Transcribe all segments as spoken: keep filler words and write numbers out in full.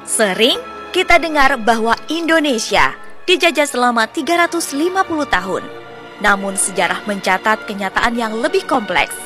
Sering kita dengar bahwa Indonesia dijajah selama tiga ratus lima puluh tahun. Namun sejarah mencatat kenyataan yang lebih kompleks.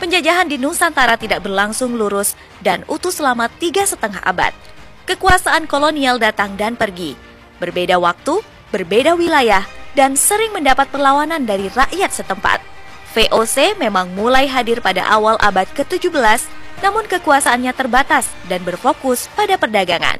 Penjajahan di Nusantara tidak berlangsung lurus dan utuh selama tiga setengah abad. Kekuasaan kolonial datang dan pergi. Berbeda waktu, berbeda wilayah, dan sering mendapat perlawanan dari rakyat setempat. V O C memang mulai hadir pada awal abad ketujuh belas, namun kekuasaannya terbatas dan berfokus pada perdagangan.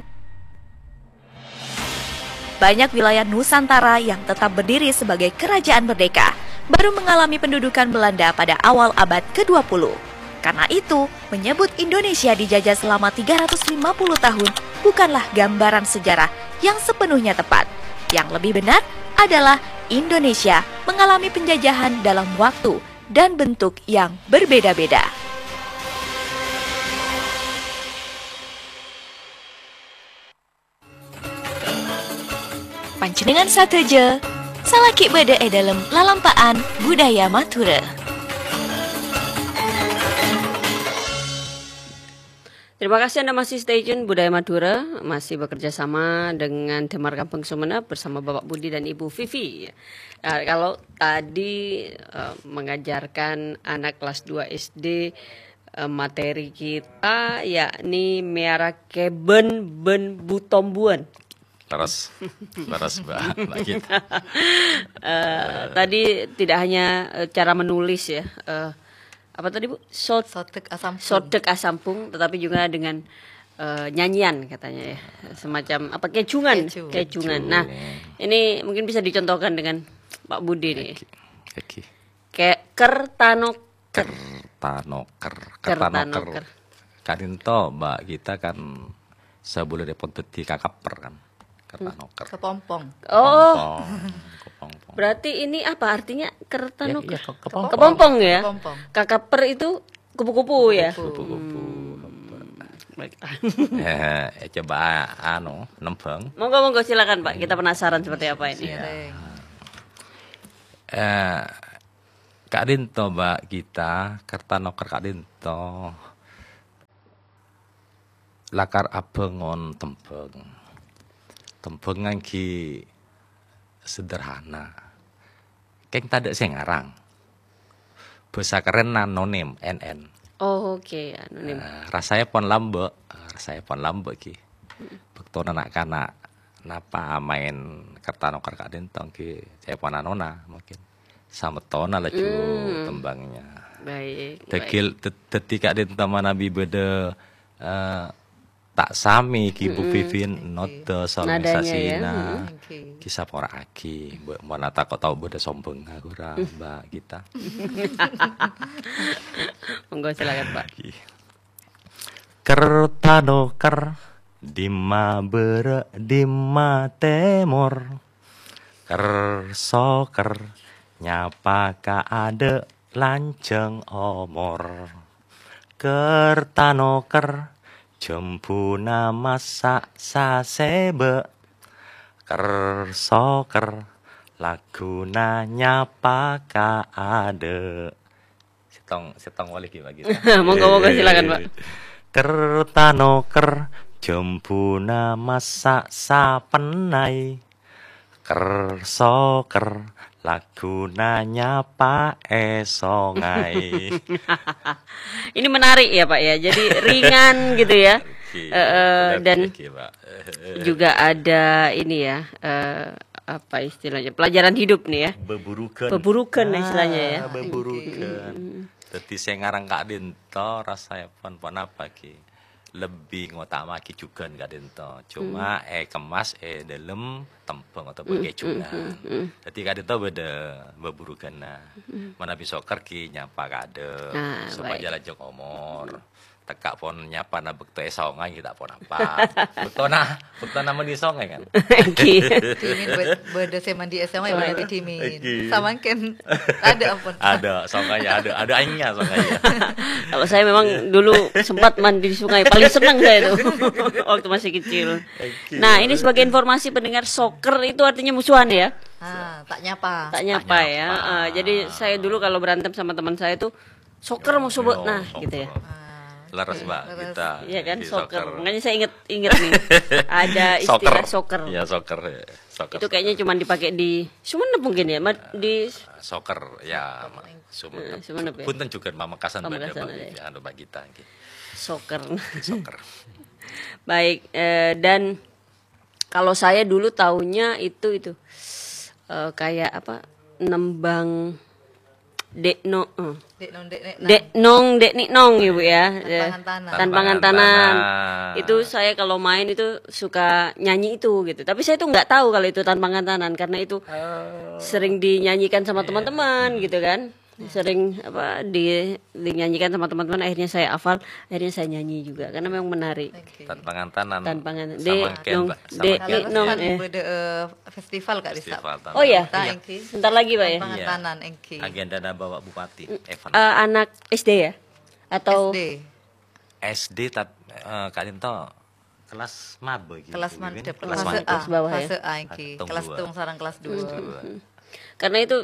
Banyak wilayah Nusantara yang tetap berdiri sebagai kerajaan merdeka baru mengalami pendudukan Belanda pada awal abad kedua puluh. Karena itu, menyebut Indonesia dijajah selama tiga ratus lima puluh tahun bukanlah gambaran sejarah yang sepenuhnya tepat. Yang lebih benar adalah Indonesia mengalami penjajahan dalam waktu dan bentuk yang berbeda-beda. Panjenengan sadhâjâ, salaghi bâdâ è dâlem lalampa'an budaya Madhurâ. Terima kasih Anda masih stay tune Budaya Madura, masih bekerja sama dengan Damar Kampung Sumenep bersama Bapak Budi dan Ibu Vivi. Nah, kalau tadi eh, mengajarkan anak kelas dua S D, eh, materi kita yakni mèyara kèbân bân butombuan. Leres. Leres, Mbak. Mbak Gita. Eh, tadi tidak hanya eh, cara menulis ya. Eh, apa tadi, Bu? Sot Sodek asampun. Sodek asampung, tetapi juga dengan eh, nyanyian katanya ya. Semacam apa, kejungan. Keju. Kejungan. Nah, ini mungkin bisa dicontohkan dengan Pak Budi nih. Oke. Oke. Kayak kertano Kertanoker. Kertanoker. Kertanoker. Ka'dinto, Mbak Gita kan sabellunna pon dhâddhi kakapper kan. Kertanoker. Kepompong. Oh, kepompong. Kepompong. Berarti ini apa artinya kertanoker? Ya, iya, ke- kepompong. Kepompong ya? Kepompong. Kakapper itu kupu-kupu ya? Kupu-kupu. Hmm. Baik. Ya, ya, coba anu, nembang. Monggo, monggo, silakan, Pak. Kita penasaran seperti apa ini. Iya. Eh, Ka'dinto, Mbak Gita, kertanoker ka'dinto lakar abângon tembhâng. Tembhâng ngangghi sederhana. Kèng tadâ' sè ngarang. Bhâsa kerrènna anonim, N N. Oh, oke, anonim. Eh, rasaèpon lambâ', eh, rasaèpon lambâ' ghi. Bâktona na'-kana' napa maèn kertanoker ka'dinto ghi, ca'èpon anona mungkin. Samettona laju tembhângnga. Baik, baik. Dâgghi', dâ-, dâddhi ka'dinto manabi bâdâ, eh, ta' samè ghi Bu Vivi nodâ solonisasina. Nadanya ya. Ghi sapora'aghi, mon atako' tao bâdâ sombhângnga ghurâ, Mbak Gita. Monggo, silakan, Pak. Kertanoker, dimma bârâ', dimma tèmor. Ker-soker, nyapa ka adâ', lanjhâng omor. Kertanoker, jembhuna massa' sasèbâ'. Ker-soker, laguna nyapa ka adâ'. Sèttong, sèttong wali ghi, Pak, ghi. Monggo, monggo, silakan, Pak. Kertanoker, jembhuna massa' sapennai. Ker-soker, laguna nyapa è songay. Ini menarik ya, Pak, ya. Jadi ringan gitu ya. Oke, eh, eh, dan oke, Pak. Juga ada ini ya, eh, apa istilahnya, pelajaran hidup nih ya. Beburukan. Beburukan istilahnya ya. Ah, beburukan. Dâddhi sè ngarang ka'dinto rasaèpon ponapa ghi? Lebbi ngotama'aghi jhughân ka'dinto. Cuma èkemas è dâlem tembhâng otabâ kejungan. Dâddhi ka'dinto bâdâ beburukanna. Manabi soker ghi nyapa ka'dâ', ah, supaya baik. Lanjhâng omor. Tekka' pon nyapana bâkto è songay, ghi ta' ponapa. Bâktona, bâktona mandi songay, kan? Èngghi. Dhimin bâ-, bâdâ sè mandi è songay, bâdâ dhimin. Èngghi. Samangkèn adâ', ampon. Adâ', songay adâ', adâ' aèngnga songay. Kalau saya memang dulu sempat mandi di sungai, paling seneng saya itu waktu masih kecil. Èngghi. Nah, ini sebagai informasi pendengar, soker itu artinya musuhan ya? Ah, tak nyapa. Tak nyapa ya. Ah, jadi saya dulu kalau berantem sama teman saya itu Soccer mau sebut, nah, gitu ya. Leres, Mbak, kita. Iya kan, soccer. Makanya saya inget, inget nih. Ada istilah soccer. Ya, soccer, ya. Soccer. Itu kayaknya cuma dipakai di Sumenep mungkin ya, Ma-, di soccer, ya, Sumenep. Sumenep ya? Punten juga Pamekasan, Pamekasan ada. Anu, Mbak Gita, nggih. Soccer. Soccer. Baik, eh, dan kalau saya dulu taunya itu, itu, eh, kayak apa, nembang Dek No-, eh. Dek Nong, Dek Nek Nang. Dek Nong, Dek Nik Nong ya, Bu, ya. Tanpa ngantanan. Tanpa ngantanan. Itu saya kalau main itu suka nyanyi itu gitu. Tapi saya tuh nggak tahu kalau itu tanpa ngantanan karena itu sering dinyanyikan sama teman-teman gitu kan. Sering apa di-, dinyanyikan sama teman-teman, akhirnya saya hafal, akhirnya saya nyanyi juga karena memang menarik. Oke. Tanpa ngantanan. Tanpa ngan-, Dek Nong, Dek Nik Nong, eh. Festival, Kak Risa. Festival tanpa. Oh, iya. Sebentar lagi, Pak, ya? Tanpa ngantanan, engki. Agendana Bapak Bupati, Evan. Eh, anak S D ya? Atau S D? S D tat-, eh, Kak Linto kelas maba gitu, kelas mantep, kelas mantep. Kelas bawah, ya? Fase A, engki. Kelas tung sareng kelas dua. Karena itu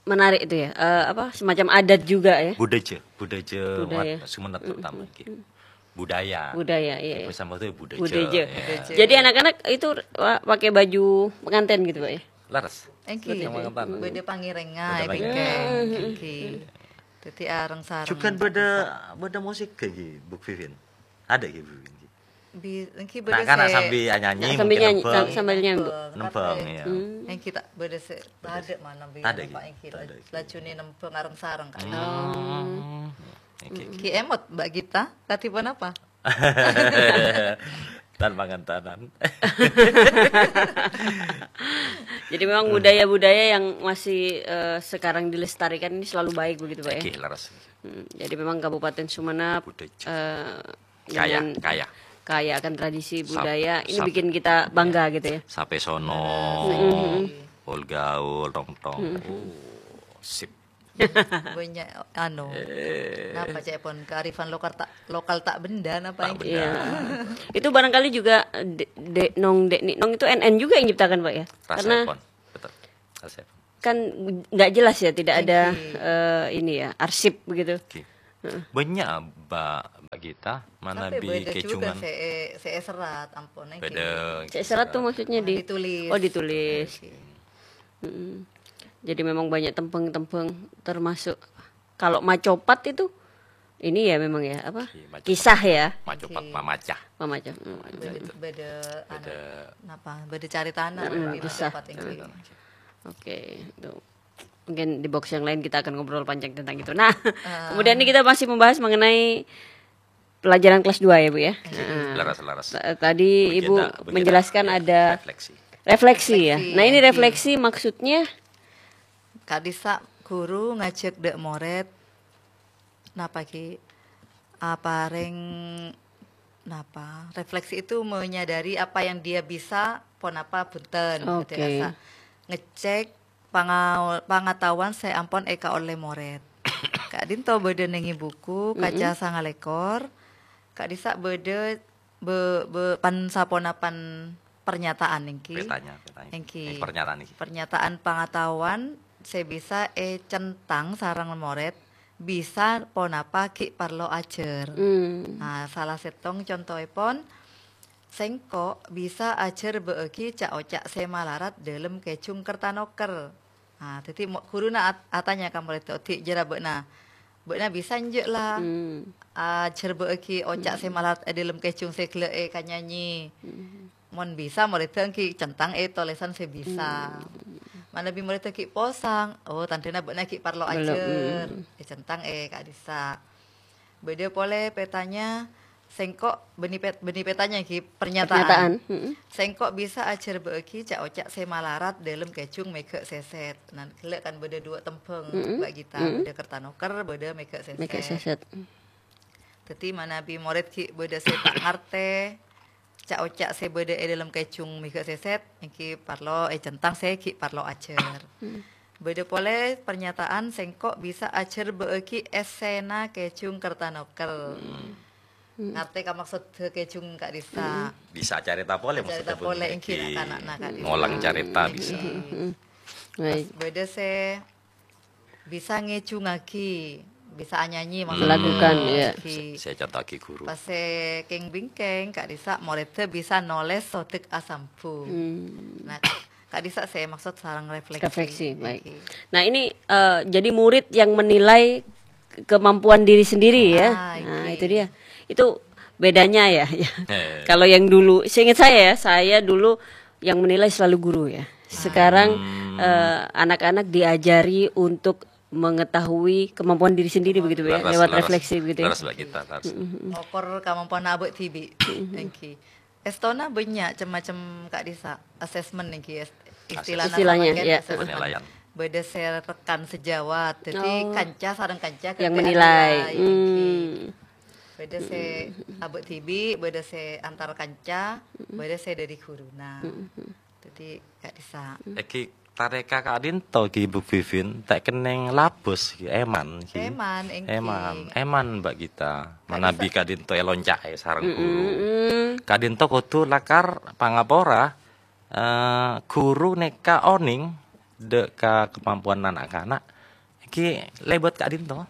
menarik itu ya, eh, apa, semacam adat juga ya. Budaya, budaya Sumenep terutama, gitu. Budaya. Budaya, iya, iya. Budaya. Budaya. Jadi anak-anak itu wa-, pakai baju pengantin gitu, Pak, ya? Leres. Engki. Sama pengantin. Beda pangirengan, beda pangirengan. Engki. Jadi areng-sareng. Juga beda, beda musik kayak gitu, Bu Vivin. Ada gitu, Bu Vivin. Bi-, engki beda. Nah, kan sambil nyanyi, sambil nyanyi, nembang. Sambil nyanyi, Bu. Nembang, ya. Engki tak beda se-, ada mana bi-, ada, Pak, gitu. Engki lajune nembang areng-sareng, kan. Hmm. Engki, engki. Ki emot, Mbak Gita, tadi pun apa? Tanpa ngantanan. Jadi memang budaya-budaya yang masih, eh, sekarang dilestarikan ini selalu baik begitu, Pak, ya? Oke, leres. Hmm, jadi memang Kabupaten Sumenep, eh, kaya, dengan kaya akan tradisi budaya, ini bikin kita bangga gitu ya. Sape sono, pol gaul, tong-tong. Oh, sip. Banyak, anu, napa cek pon kearifan lokal tak, lokal tak benda, napa ini? Iya. Itu barangkali juga, eh, Dek, Dek Nong, Dek Nik Nong itu N N juga yang ciptakan, Pak, ya? Karena betul. Kan nggak jelas ya, tidak ada, eh, ini ya, arsip begitu. Oke. Heeh. Banyak, Mbak, Mbak Gita, mana bi kecungan. Tapi beda juga se-, se-, serat, ampun, beda. Se-, serat tuh maksudnya di-, ditulis. Oh, ditulis. Oke. Mm-mm. Jadi memang banyak tembheng-tembheng, termasuk kalau macopat itu, ini ya memang ya, apa? Kisah ya? Macopat, mamacah. Mamacah. Beda, beda, anu, napa? Beda caritana, kisah. Macopat ini. Oke, itu. Mungkin di box yang lain kita akan ngobrol panjang tentang itu. Nah, kemudian ini kita masih membahas mengenai pelajaran kelas dua ya, Bu, ya? Iya. Nah, leres, leres. Tadi Ibu menjelaskan ada refleksi. Refleksi ya. Nah, ini refleksi maksudnya? Kak Disa, guru ngajak dek mored, napa ki? Apareng napa? Refleksi itu menyadari apa yang dia bisa, ponapa bunten. Oke. Jadi rasa ngecek panga-, pangataowan sè ampon èkaollè morèd. Ka'dinto bâdâ nèngè buku, kaca sanga lèkor. Ka'dissa' bâdâ bâ-, bâ-, pan-saponapan pernyataan èngghi. Petanya, petanya. Èngghi. Èngghi pernyataan èngghi. Pernyataan pangataowan sè bisa ècèntang sareng morèd, bisa ponapa ghi' parlo ajhâr. Hmm. Nah, sala sèttong contoèpon, Sèngko' bisa ajhârbâ'âghi ca'-oca' sè malarat dâlem kèjhung kerta noker. Nah, dhâddhi mo-, ghuruna at-, atanya ka morèdda, "Odi' jârâ bâ'na, bâ'na bisa enjâ' la ajhârbâ'âghi oca' sè malarat è dâlem kèjhung sè ghellâ' èkanyanyè?" Mon bisa, morèdda èngghi cèntang è tolèsan sè bisa. Manabi morèdda ghi' posang, oh, tandhâna bâ'na ghi' parlo ajhâr. Ècèntang è ka'dissa'. Bâdâ polè petanya, sèngko' bânnè pet-, bânnè petanya ghi, pernyataan. Pernyataan, mm-mm. Sèngko' bisa ajhârbâ'âghi ca'-oca' sè malarat dâlem kèjhung mèghâ' sèsèt. Nah, ghellâ' kan bâdâ duwâ' tembhâng, Mbak Gita. Mm-mm. Bâdâ kerta noker, bâdâ mèghâ' sèsèt. Mèghâ' sèsèt. Dhâddhi, manabi morèd ghi' bâdâ sè ta' ngartè, ca'-oca' sè bâdâ è dâlem kèjhung mèghâ' sèsèt, èngghi parlo ècèntang sè ghi' parlo ajhâr. Hmm. Bâdâ polè pernyataan, "Sèngko' bisa ajhârbâ'âghi èssèna kèjhung kerta noker." Hmm. Ngartè ka maksodda kèjhung ka'dissa'. Hmm. Bisa carèta polè maksodda. Carèta polè, èngghi, na'-kana'na ka'dissa'. Ngolang carèta bisa. Hmm. Baik. Bâdâ sè bisa ngèjhungaghi bisa anyanyi, hmm, maksudnya. Melakukan, iya. Oke. Sè, sè èconto'aghi ghuru. Pas sè kèng-bingkèng, Kak Disa, morèdda bisa nolès sodek asambhung. Hmm. Nah, Kak Disa, sè maksud sareng refleksi. Refleksi, baik. Oke. Nah, ini, eh, jadi murid yang menilai kemampuan diri sendiri, ya. Ah, nah, oke. Itu dia. Itu bedanya, ya. Ya. Eh. Kalau yang dulu, seingat saya, ya, saya dulu yang menilai selalu guru, ya. Sekarang, hmm, eh, anak-anak diajari untuk mengetahui kemampuan diri sendiri, oh, begitu, ya, laras, lewat laras, refleksi, begitu, ya. Laras, Mbak Gita, laras. Mm-mm. Okor kamampoanna abâ' dhibi'. Mm-mm. Èngghi. Èstona bânnya' cem-macem, Kak Disa, assessment èngghi, es-, assessment. Istilahnya, istilahnya, samangkèn, ya, assessment. Penilaian. Bâdâ sè rekan sejawat, jadi, oh, kanca sareng kanca yang ghâbây menilai. Nilai, èngghi. Hmm. Bâdâ sè, mm-mm, abâ' dhibi', bâdâ sè antar kanca, mm-mm, bâdâ sè dâri ghuruna. Mm-mm. Dhâddhi, Kak Disa. Èngghi tarèka ka'dinto ghi, Bu Vivin, ta' kennèng labâs ghi, èman ghi. Èman, èngghi. Èman, èman, Mbak Gita. Kak Disa. Manabi ka'dinto èlonca'è sareng ghuru. Mm-mm. Ka'dinto kodhu lakar pangapora, eh, ghuru nèka onèng dâ' ka kamampowanna na'-kana'. Èngghi lèbât ka'dinto.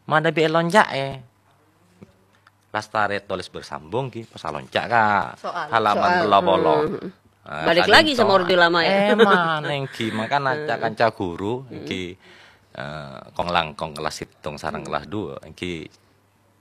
Manabi èlonca'è. Lastarè tolès bersambung ghi, pas alonca' ka soal. Halaman soal. Tello polo. Hmm. Ah, balik lagi sama orde lama, ya. Èman, èngghi, mangkana, hmm, ca-kanca ghuru, hmm, èngghi, eh, kong-langkong kelas sèttong sareng, hmm, kelas dua, èngghi,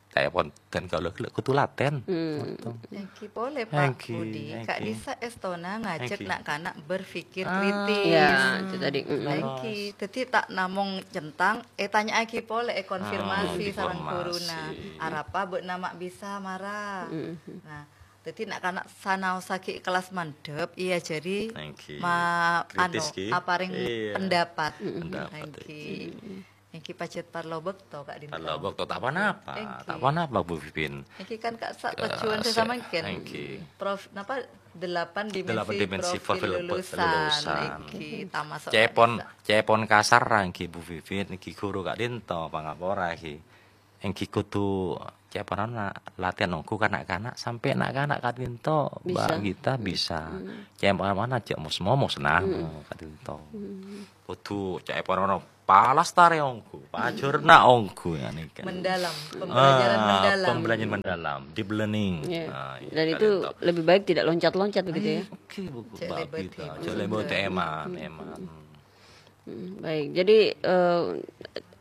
kaè pon, dan kalau gella' kudu laten. Hmm. Èngghi polè, Pak, èngghi, Budi, Kak, èngghi. Disa èstona ngajak, èngghi, na'-kana' berpikir, ah, kritis. Ya, itu tadi. Mm-mm. Èngghi, dhâddhi ta' namong centang, ètanya'aghi polè, èkonfirmasi, ah, sareng, dikonfirmasi, ghuruna. Arapa bâ'na ma' bisa mara? Mm-mm. Nah, dhâddhi na'-kana' sanaossa ghi' kelas mandhâp, èajhâri, èngghi, ma-, kritis, anu, ghi, aparèng, iya, pendapat. Mm-mm. Pendapat, èngghi. Èngghi. Èngghi pajhât parlo bâkto, Kak Dinto. Parlo bâkto, ta' ponapa, èngghi, ta' ponapa, Bu Vivin. Èngghi kan, Kak, sa-, eh, tujuan sè-, samangkèn. Èngghi. Prof-, napa, delapan dimensi, delapan dimensi profil, profil lulusan, lulusan. Èngghi, tamaso', Kak, ca'èpon, Disa. Ca'èpon kasar, èngghi, Bu Vivin, èngghi ghuru, Kak Dinto, pangapora, èngghi. Èngghi kodhu ca'èpon anu, latèn ongghu ka na'-kana' sampè' na'-kana' ka'dinto, bisa. Mbak Gita, bisa. Hmm. Ca'èpon anu jhâ' mos-momos, nah, hmm, ka'dinto. Hmm. Kodhu ca'èpon anu palastarè ongghu, pajhârna ongghu, ya, nèka. Mendalam, ah, pembelajaran mendalam. Pembelajaran mendalam, deep learning. Iya. Nah, iya, dan itu ka'dinto. Lebih baik tidak loncat-loncat begitu, ya? Oke, Bu, ca'èpon Mbak Gita, ca'èpon, hmm, èman, èman. Hmm, baik. Jadi, eh,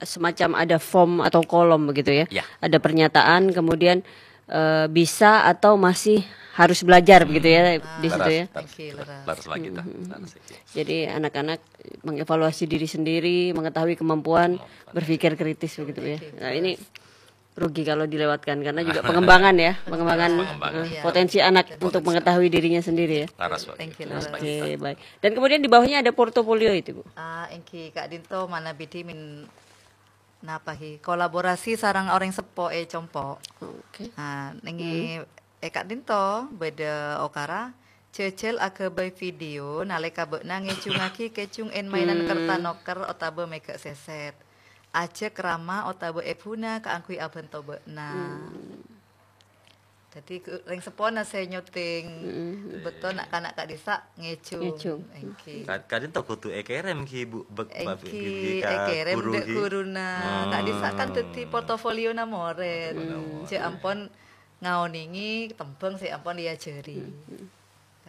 semacam ada form atau kolom begitu ya. Ya. Ada pernyataan, kemudian, eh, bisa atau masih harus belajar begitu ya, hmm, di situ ya. Laras, laras, oke, laras. Laras lagi, ta. Hmm, hmm, hmm. Laras lagi. Jadi anak-anak mengevaluasi diri sendiri, mengetahui kemampuan, kemampuan, berpikir kritis begitu ya. Oke, nah, ini jelas. Rugi kalau dilewatkan, karena juga pengembangan ya, pengembangan, pengembangan, eh, iya, potensi anak, potensi anak untuk mengetahui dirinya sendiri ya. Laras, Pak. Thank you, laras. Oke, baik. Dan kemudian di bawahnya ada portofolio itu, Bu. Ah, èngghi Kak Dinto manabi dhimèn napa ghi? Kolaborasi sareng orèng seppo è compo'. Oke. Ah, nèng, hmm, è Kak Dinto bâdâ okara jhâjhâl aghâbây video nalèka bâ'na ngèjhungaghi kèjhung èn-maènan, hmm, kerta noker otabâ mèghâ' sèsèt. Ajhâk rama otabâ èbhuna kaangghuy abhânto bâ'na. Hmm. Dhâddhi, ghu-, rèng seppona sè nyuting. Mm-mm. Bâkto na'-kana' ka'dissa' ngèjhung. Ngèjhung. Èngghi. Ka-, ka'dinto kodhu èkèrèm ghi, Bu, bek-, èngghi, èkèrèm ka ghuru dâ' ghi. Ghuruna. Hmm. Ka'dissa' kan dhâddhi portofoliona morèd. Portofoliona morèd. Jhâ' ampon ngaonèngè tembhâng sè ampon èajhâri. Mm-mm.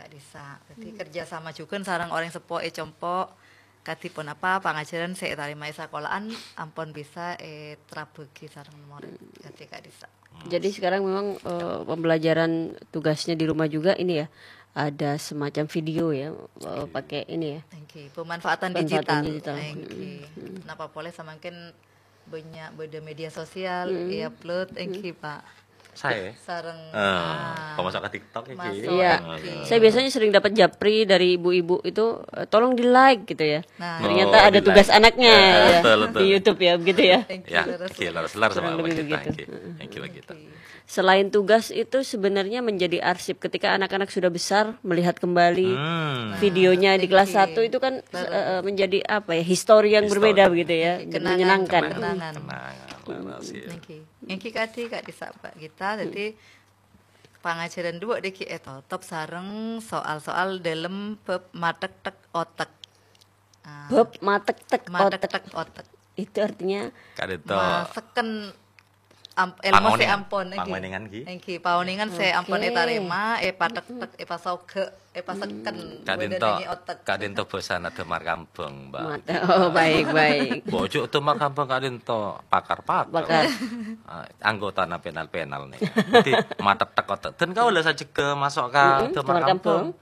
Ka'dissa'. Dhâddhi, hmm, kerjasama jhughân sareng orèng seppo è compo'. Kadhi ponapa pangajhârân sè ètarèma è sakola'an ampon bisa ètrabâghi sareng morèd. Hmm. Kadhi ka'dissa'. Hmm. Jadi sekarang memang, eh, pembelajaran tugasnya di rumah juga ini ya, ada semacam video ya, eh, pakai ini ya. Èngghi, pemanfaatan digital. Pemanfaatan digital. Èngghi. Hmm. Napa polè samangkèn bânnya' bâdâ media sosial, hmm, è-upload, hmm, èngghi, Pak. Saè? Sareng, eh, ah, pemasok ka TikTok èngghi. Masuk, iya. Èngghi. Saya biasanya sering dapat japri dari ibu-ibu itu, eh, "Tolong di-like," gitu ya. Nah. Ternyata, oh, ada di-like. Tugas anaknya, eh, ya, betul, betul. Di YouTube ya, begitu ya. Èngghi, ya, leres, èngghi, leres, leres, kurang lebih begitu, begitu. Èngghi, èngghi, begitu. Selain tugas itu sebenarnya menjadi arsip ketika anak-anak sudah besar, melihat kembali, hmm, videonya di kelas, nah, satu itu kan, leres, eh, menjadi apa ya, histori yang berbeda begitu ya, dan menyenangkan. Kenangan. Kenangan. Kenangan, leres, ya. Èngghi. Èngghi kadhi, Kak, dissa' Pak Gita. Hmm. Dhâddhi, pangajhârân dhuwâ' dhâggi' ètotop sareng soal-soal dâlem bab matektek otek. Ah, bab matektek otek. Matektek otek. Itu artinya Ka'dinto. Maseken am-, èlmo sè ampon, èngghi. Pangoningan, èngghi. Èngghi, paoningan sè ampon ètarèma, èpatek-tek, èpasoghe', èpaseken. Ka'dinto, bâdâna ngi otek. Ka'dinto bhâsana Damar Kambhâng, Mbak. Mat-, oh, baik, baik. Bojo Damar Kambhâng ka'dinto pakar-pakar. Pakar. Ah, anggotana penal-penal nèka. Dhâddhi, matek-tek otek. Dan kaulâ sajjhegghâ maso' ka Damar Kambhâng.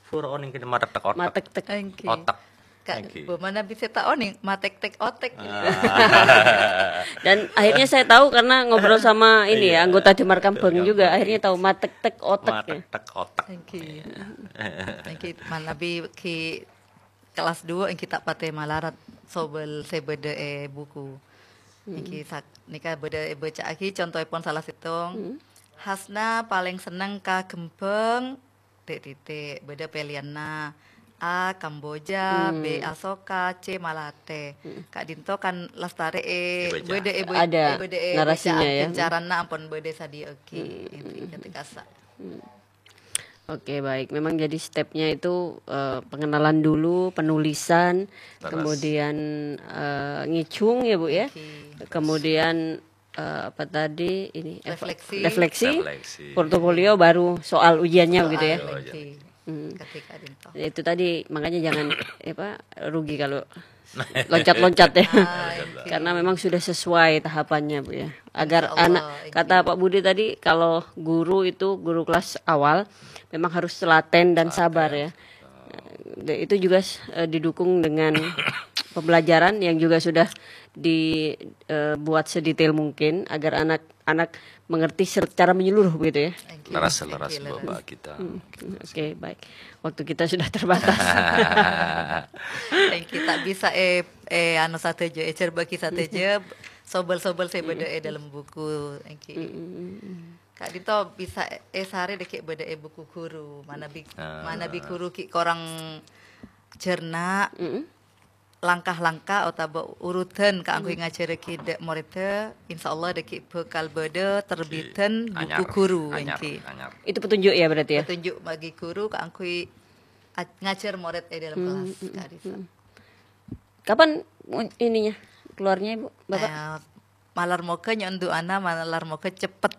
Pura onèng kènè matek-tek otek. Matek-tek. Èngghi. Otek. Ka-, èngghi. Bâ manabi sè ta' onèng, matek-tek otek. Ah. Dan akhirnya saya tahu karena ngobrol sama ini ya, anggota Damar Kambhâng juga. Akhirnya tahu matek-tek otek ya. Matek-tek otek. Èngghi. Iya. Èngghi, manabi ghi' kelas dua èngghi ta' patè malarat sobel sè bâdâ è buku. Èngghi sak-, nèka bâdâ èbâca'aghi contoèpon sala sèttong. Hasna palèng senneng ka ghembhâng, titik-titik, bâdâ pèlèyanna. A, Kamboja, B, Asoka, C, Malatè. Ka'dinto kan lastarè è, bâdâ è, bâdâ è narasinya bâca'an ya. Kèng carana ampon bâdâ èsadhiyâ'aghi. Èngghi, katè kassa'. Oke, baik. Memang jadi stepnya itu, eh, pengenalan dulu, penulisan, kemudian, eh, ngèjhung ya, Bu, ya. Oke. Kemudian, eh, apa tadi? Ini, eva-, refleksi. Refleksi, portofolio, baru soal ujiannya begitu ya. Soal ujian. Oke. Hmm. Katè ka'dinto. Itu tadi, makanya jangan, apa, rugi kalau loncat-loncat ya. Ah, oke. Karena memang sudah sesuai tahapannya, Bu, ya. Agar anak, insya Allah, kata Pak Budi tadi, kalau guru itu, guru kelas awal, memang harus telaten dan sabar, ya. Dan itu juga, eh, didukung dengan pembelajaran yang juga sudah di, eh, buat sedetail mungkin agar anak-anak mengerti secara menyeluruh begitu ya. Thank you. Leres, leres, Bapak kita. Hmm, oke, baik. Waktu kita sudah terbatas. Thank you. Ta' bisa, eh, eh, anu sadhâjâ, ècèrbâ'âghi sadhâjâ, sobel-sobel sè bâdâ è dâlem buku. Thank you. Ka'dinto bisa èsarè dâgghi' bâdâ è buku guru. Manabi, manabi guru ghi' korang jhârna, langkah-langkah otabâ urutan kaangghuy ngajhârâghi dâ' morèdda, insya Allah dâgghi' bhâkal bâdâ terbiten buku guru, èngghi. Itu petunjuk ya berarti ya? Petunjuk bagi guru kaangghuy a-, ngajhâr morèd è dâlem kelas, Kak Risa. Kapan mu-, ininya, keluarnya, Ibu, Bapak? Eh, malar moghâ nyo'on du'ana, malar moghâ cepet.